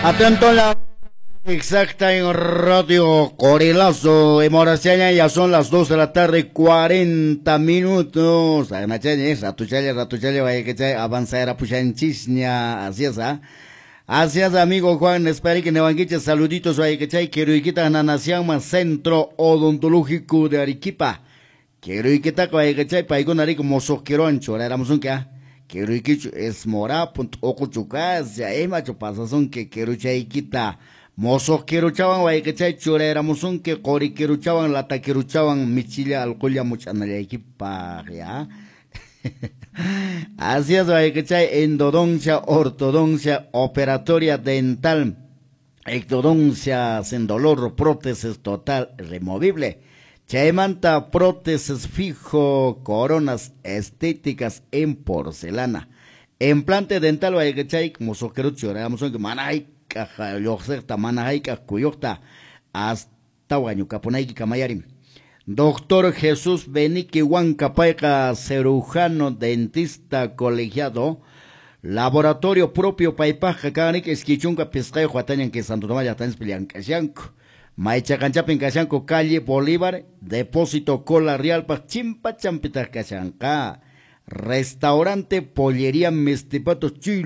Atento la exacta en Radio Corilazo. Emoraciaña, ya son las 2 de la tarde, 40 minutos. Ratuchalla, ratuchalla, vaya que avanzar pushanchisña. Así es, ¿ah? Así es, amigo Juan Esperique Nevanguiche, saluditos, vaya que chay, quiero Nanasiama, Centro Odontológico de Arequipa. Quiero y que vaya que chay, paikuna rico mosoqueroan, choréramos un que, ¿ah? Quiero es mora, punto, ojo chucas, ya emacho pasason que quiero chayquita. Mosoq kiruchawan wayqichay churayramusunki quri kiruchawan lata kiruchawan michilla alqulla much'anallaykipaq ya. Así es, wayqichay, endodoncia, ortodoncia, operatoria dental, ectodoncia sin dolor, prótesis total removible. Chaymanta prótesis fijo, coronas estéticas en porcelana. Implante dental wayqichay, mosoq kirucha churayramusunki mana hayk'aq lluqsiqta mana hayk'aq kuyuqta hasta wañukapunayki kamayarin. Doctor Jesús Benique Huanca payqa cirujano dentista colegiado, laboratorio propio paypaqqa kanrik 25 watañan que Santo Tomás llaqtanchispi llank'ashanku. Maychaqanchapin kashanku calle Bolívar, depósito Cola Realpaq chimpachanpitaq kashanqa. Restaurante Pollería Mistipato Chuy.